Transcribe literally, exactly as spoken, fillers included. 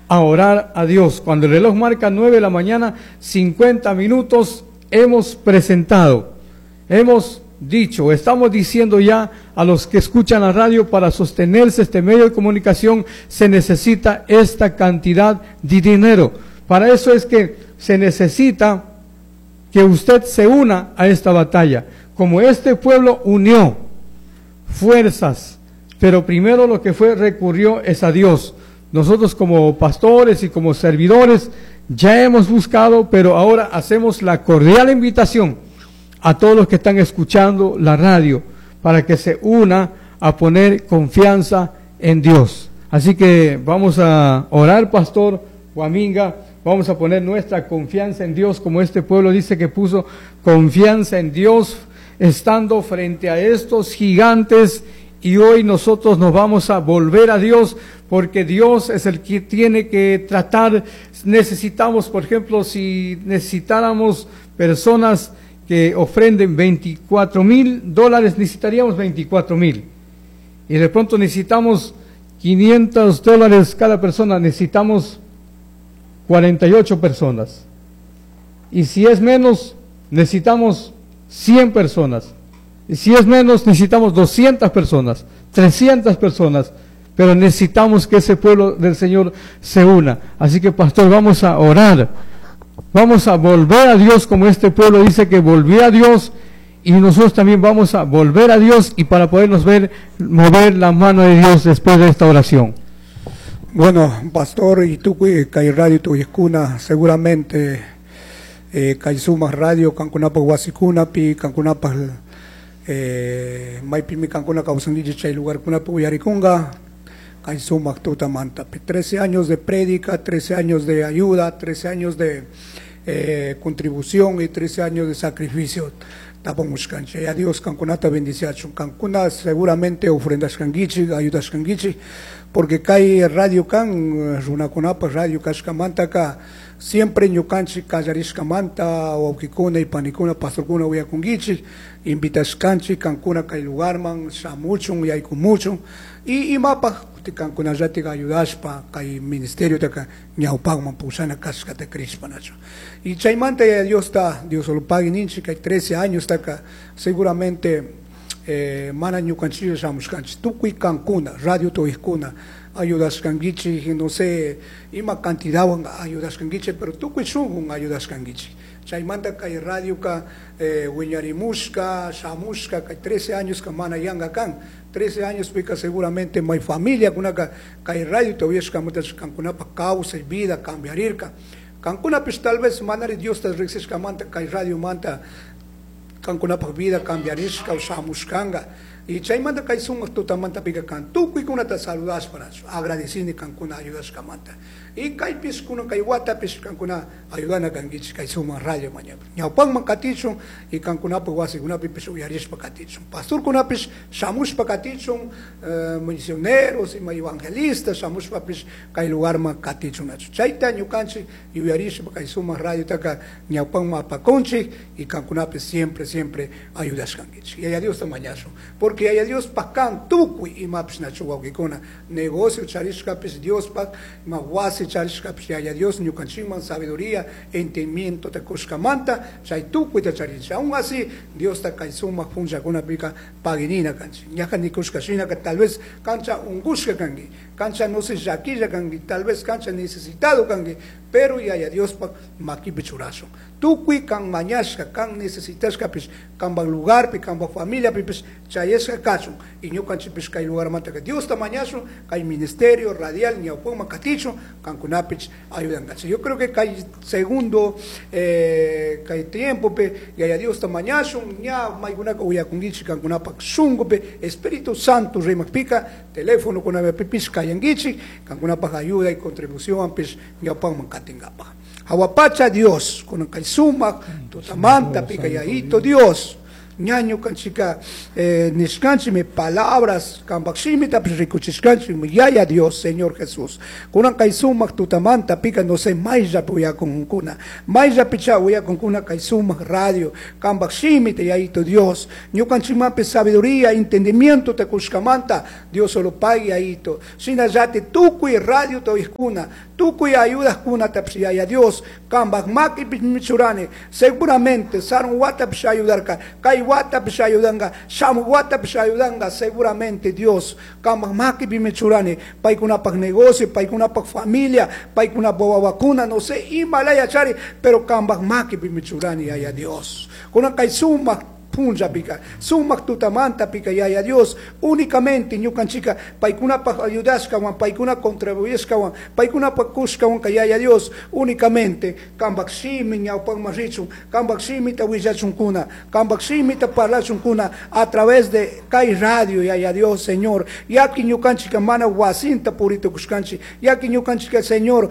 a orar a Dios. Cuando el reloj marca nueve de la mañana, cincuenta minutos, hemos presentado, hemos dicho, estamos diciendo ya a los que escuchan la radio, para sostenerse este medio de comunicación se necesita esta cantidad de dinero. Para eso es que se necesita que usted se una a esta batalla. Como este pueblo unió fuerzas, pero primero lo que fue recurrió es a Dios. Nosotros como pastores y como servidores ya hemos buscado, pero ahora hacemos la cordial invitación a todos los que están escuchando la radio para que se una a poner confianza en Dios. Así que vamos a orar, Pastor Guaminga, vamos a poner nuestra confianza en Dios, como este pueblo dice que puso confianza en Dios estando frente a estos gigantes, y hoy nosotros nos vamos a volver a Dios, porque Dios es el que tiene que tratar. Necesitamos, por ejemplo, si necesitáramos personas que ofrenden veinticuatro mil dólares, necesitaríamos veinticuatro mil. Y de pronto necesitamos quinientos dólares cada persona, necesitamos cuarenta y ocho personas. Y si es menos, necesitamos cien personas. Y si es menos, necesitamos doscientas personas, trescientas personas. Pero necesitamos que ese pueblo del Señor se una. Así que, pastor, vamos a orar. Vamos a volver a Dios como este pueblo dice que volvió a Dios, y nosotros también vamos a volver a Dios, y para podernos ver, mover la mano de Dios después de esta oración. Bueno, pastor, y tú, kay radio tu escuna, seguramente, eh, kay suma radio, kankunapa wasikunapi, kankunapa, eh, maypimi kankuna kawsankichik chay lugarkunapi uyarikunga, kay sumaq tutamantapi. trece años de prédica, trece años de ayuda, trece años de, eh, contribución y trece años de sacrificio. Tapamushkanchik. Ya Dios kankunata bendiciachun. Kankuna seguramente ofrendas kankichik, ayudas kankichik, porque kay radio kan, runakunapa radio kashkamantaka, siempre ñukanchik kallarishkamanta, wawqikuna y panikuna, pastorkuna uyakunkichik, invitashkanchik kankuna kay lugarman, shamuchun, yaykumuchun, y imapaj kankunallatik ayudashpa kay ministerio taka ñawpaqman pushana kashkata krishpanachu. Y chaymanta ya Dios está, Dios lo pague ninchik, kay trece años taka seguramente, eh, mana ñukanchik shamushkanchik, tukuy kankuna, radio tuyskuna, ayudashkankichik, no sé, ima cantidad ayudashkankichik, pero tukuy shunqun ayudashkankichik. Chaymanta kay radio ka, eh, wiñarimushka, shamushka, kay trece años ka mana yanga kan, trece años pika seguramente may familia kunaka kay radio todavía shkamuta kankunapa causa y vida cambiarirka. Kankuna pues tal vez manari Dios ta riksishkamanta kay radio manta kankunapa vida cambiarishka o shamushkanga. Y chaymanta kay sumaq tutamanta pika kan tukuy kunata saludashpa agradecini kankuna ayudashkamanta. Y kaypis kuna kay watapis kankuna ayudana kankichik kay sumaq radio mañana. Ñawpaqman katichun y kankunapa wasikunapipish uyarishpa katichun. Pastorkunapis shamushpa katichun, eh, misioneros y evangelistas shamushpapis kay lugarman katichun nachu. Chayta ñukanchik yuyarishpa kay sumaq radio taka ñawpaqman apakunchik y kankunapis siempre, siempre ayudashkankichik. Y a Dios ta mañashun. Porque hay a Dios pakan tukuy imapis nachu wawqikuna. Negocio charishkapis Dios pak, ma wasi charishkapis yaya Dios ñukanchikman sabiduría, entendimiento te kushkamanta, chay tukuy ta charinchik. Aún así, Dios ta kay sumaq punllakunapika paginina kanchik. Ñaqa nikushka shinaka tal vez kancha unkushka kanki, kancha no sé llakilla kanki, tal vez kancha necesitado kanki, pero yaya Dios pak makipi churashun. Tukuy kan mañashka, kan necesitashkapis, kanpak lugarpi, kanpak familiapipis, chayashka kachun. Y ñukanchikpis kay lugarmanta que Dios ta mañashun, kay ministerio radial ñawpaqman katichun, kankunapis ayudankachi. Yo creo que kay segundo, eh, kay tiempo pe, yaya Dios ta mañashun, ña maykunaka uyakunkichik kankunapak shunkupi, Espíritu Santo rimakpika, teléfono kunapipis kayankichik, kankunapak ayuda y contribución pis ñawpaqman katingapaq. Hawapacha Dios, con kay sumaq, tutamanta, pika yayito Dios, Ña ñukanchika eh, nishkanchikmi palabras kambak shimitapish rikuchishkanchikmi Yaya Dios, Señor Jesús. Kunan kay sumak tutamanta pika no sé mayllapi uyakunkuna. Mayllapicha uyakunkuna kay sumak radio kambak shimita Yayito Dios. Ñukanchikmanpish sabiduría, entendimiento te kushkamanta Dios solo pague Yayito. Shinallati tukuy radio uyajkuna, tukuy ayudakunatapish Yaya Dios kambak makipi churani seguramente sarun watapish ayudarka kay watapish ayudanka shamu watapish ayudanka seguramente Dios kambak makipi churani paykunapak negocio paykunapak familia paykunapak wawakuna no sé imalaya chari pero kambak makipi churani Yaya Dios kunan kay sumak punllapika sumak tutamantapika Yaya Dios únicamente ñukanchika paykunapak ayudashkawan paykuna contribuyeshkawan paykunapak kushkawan Yaya Dios únicamente kambak shimi ñawpakman richun kambak shimita willachunkuna kambak shimita parlachunkuna a través de kay radio Yaya Dios Señor yaki ñukanchika mana wasinta puritukushkanchik yaki ñukanchika Señor